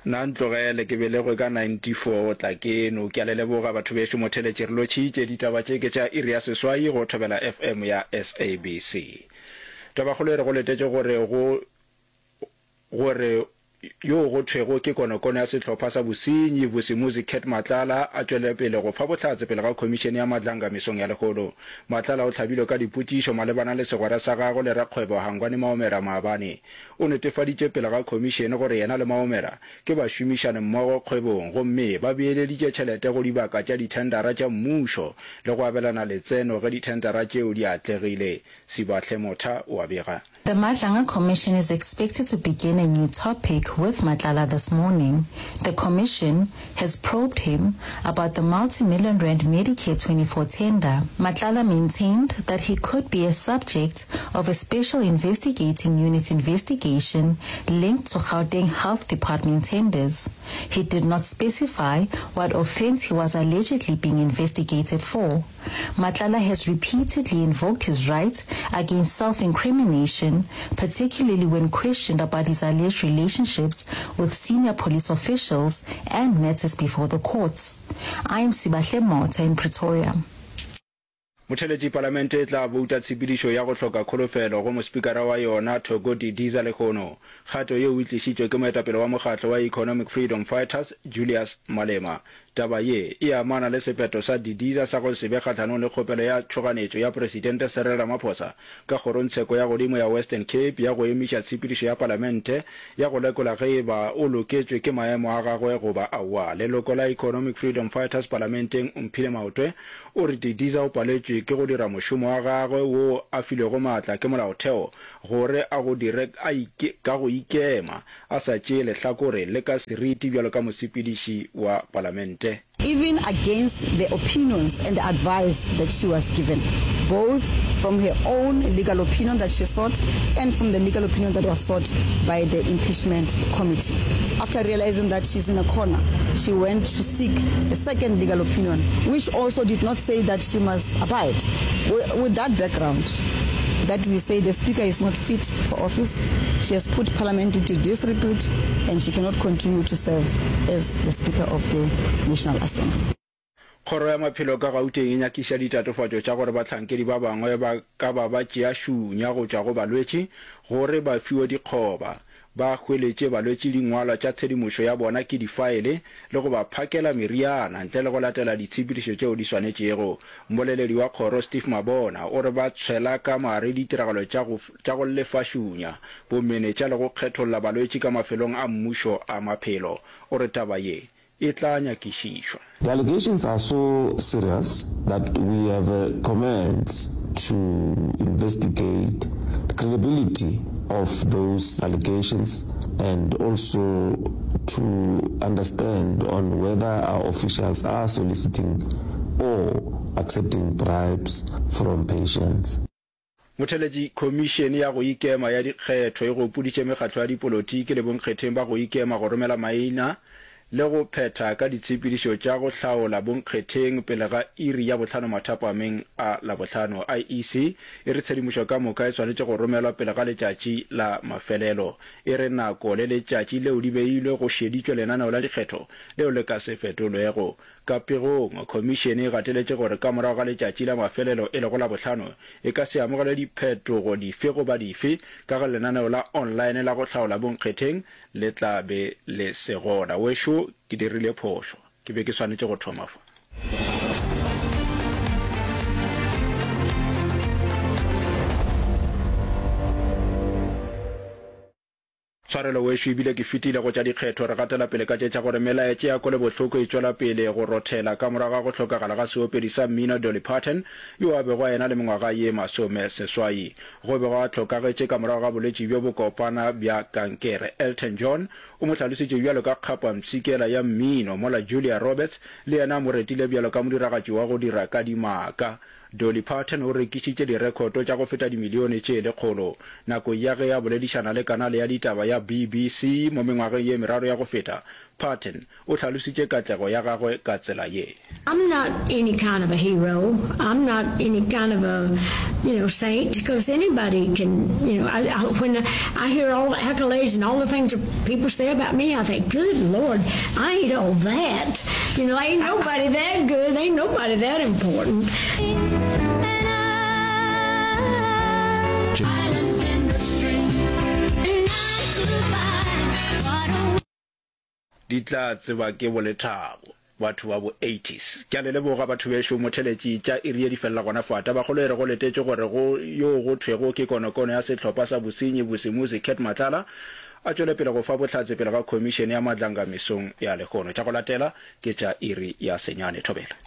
Nna ntlogele, ke belegwe ka 94, tla keno. Ke a le leboga batho bešo motheletši, re lotšhitše. Ditaba tše ke tša iri ya seswai go Thobela FM ya SABC. Tabakgolo e re go letetše gore go gore yo go thwego ke konokono ya sehlopha sa bosenyi Vusimuzi Cat Matlala a tšwele pele go fa bohlatse pele ga khomišene ya Madlanga mesong ya lehono. Matlala o hlabilwe ka dipotšišo malebana le segwera sa gagwe le rakgwebo Hangwani Maomera maabane. O netefaditše pele ga khomišene gore yena le Maomera ke bašomišane mmogo kgwebong gomme ba beeleditše tšhelete go dibaka tša dithendara tša mmušo le go abelana letseno ge dithendara tšeo di atlegile. Sibahle Motha o a bega. The Madlanga Commission is expected to begin a new topic with Matlala this morning. The commission has probed him about the multi-million rand Medicare 24 tender. Matlala maintained that he could be a subject of a special investigating unit investigation linked to Gauteng Health Department tenders. He did not specify what offense he was allegedly being investigated for. Matlala has repeatedly invoked his right against self-incrimination, particularly when questioned about his alleged relationships with senior police officials and matters before the courts. I am Sibahle Motha in Pretoria. Motheletši Palamente e tla bouta tshepedišo ya go hloka kholofelo go mospikara wa yona Thoko Didiza lehono. Kgato yeo e tlišitšwe ke moetapele wa mokgatlo wa Economic Freedom Fighters Julius Malema. Taba ye e amana le sephetho sa Didiza sa go se be kgahlanong le kgopelo ya tšhoganetšo ya Presidente Cyril Ramaphosa ka Kgorongtsheko ya Godimo ya Western Cape ya go emiša tshepedišo ya Palamente ya go lekola ge e ba o loketšwe ke maemo a gagwe goba aowa. Leloko la Economic Freedom Fighters Palamenteng Omphile Maotwe o re Didiza o paletšwe ke go dira mošomo wa gagwe wo a filwego maatla ke molaotheo gore a go dire ka go ikema a sa tšee lehlakore le ka seriti bjalo ka mosepediši wa palamente. Even against the opinions and the advice that she was given, both from her own legal opinion that she sought and from the legal opinion that was sought by the impeachment committee. After realizing that she's in a corner, she went to seek a second legal opinion, which also did not say that she must abide. With that background, that we say the speaker is not fit for office, she has put parliament into disrepute and she cannot continue to serve as the speaker of the National Assembly. Kgoro ya Maphelo ka Gauteng e nyakiša ditatofatšo tša gore bahlankedi ba bangwe ba ka ba ba tšea šunya go tšwa go balwetši gore ba fiwe dikgoba, ba hweletše balwetši dingwalwa tša tshedimošo ya bona ke difaele le go ba phakela meriana ntle le go latela ditshepedišo tšeo di swanetšego. Mmoleledi wa kgoro Steve Mabona o re ba tshwela ka mare ditiragalo tša go tša go lefa šunya, bomenetša le go kgetholla balwetši ka mafelong a mmušo a maphelo. O re taba ye e tla nyakišišwa. The allegations are so serious that we have commenced to investigate the credibility of those allegations and also to understand on whether our officials are soliciting or accepting bribes from patients. Motheletši, Khomišene ya go Ikema ya Dikgetho e gopoditše mekgatlo ya dipolotiki le bonkgetheng ba go ikema go romela maina le go phetha ka ditshepedišo tša go hlaola bonkgetheng pele ga iri ya bohlano mathapameng a Labohlano. IEC e re tshedimošo ka moka e swanetše go romelwa pele ga letšatši la mafelelo. E re nako le letšatši leo di beilwe go šeditšwe lenaneo la dikgetho leo le ka se fetolwego. Ka pegong, Khomišene e gateletše gore ka morago ga letšatši la mafelelo e lego Labohlano, e ka se amogele diphetogo dife goba dife ka ge lenaneo la online la go hlaola bonkgetheng le tla be le se gona. Wešo, ke dirile phošo. Ke be ke swanetše go thoma fa. Tshwarelo wešo ebile ke fetile go tša dikgetho. Re gatela pele ka tše tša gore melaetša ya kwelobohloko e tšwela pele go rothela ka morago ga go hlokagala ga seopedi sa mmino Dolly Parton yo a bego a ena le mengwaga ye masomeseswai. Go bego a hlokagetše ka morago ga bolwetši bjo bokopana bja kankere. Elton John o mo hlalositše bjalo ka kgapampshikela ya mmino mola Julia Roberts le yena a mo retile bjalo ka modiragatši wa go dira ka dimaka. Dolly Parton o rekišitše direkhoto tša go feta dimilione tše lekgolo. Nakong ya ge a boledišana le kanale ya ditaba ya BBC mo mengwageng ye meraro ya go feta, Parton o hlalositše katlego ya gagwe ka tsela ye. I'm not any kind of a hero. I'm not any kind of a, you know, saint, because anybody can, you know, I, I, when I hear all the accolades and all the things that people say about me, I think, good Lord, I ain't all that. You know, ain't nobody that good. Ain't nobody that important. Di tla tseba ke bolethabo batho ba bo eighties. Ke a le leboga batho bešo motheletši tša iri ye di felela gona fa. Tabakgolo e re go letetšwe gore go yo go thwego ke konokono ya sehlopha sa bosenyi Vusimuzi Cat Matlala a tšwele pele go fa bohlatse pele ga khomišene ya Madlanga mesong ya lehono. Tša go latela ke tša iri ya senyane. Thobela.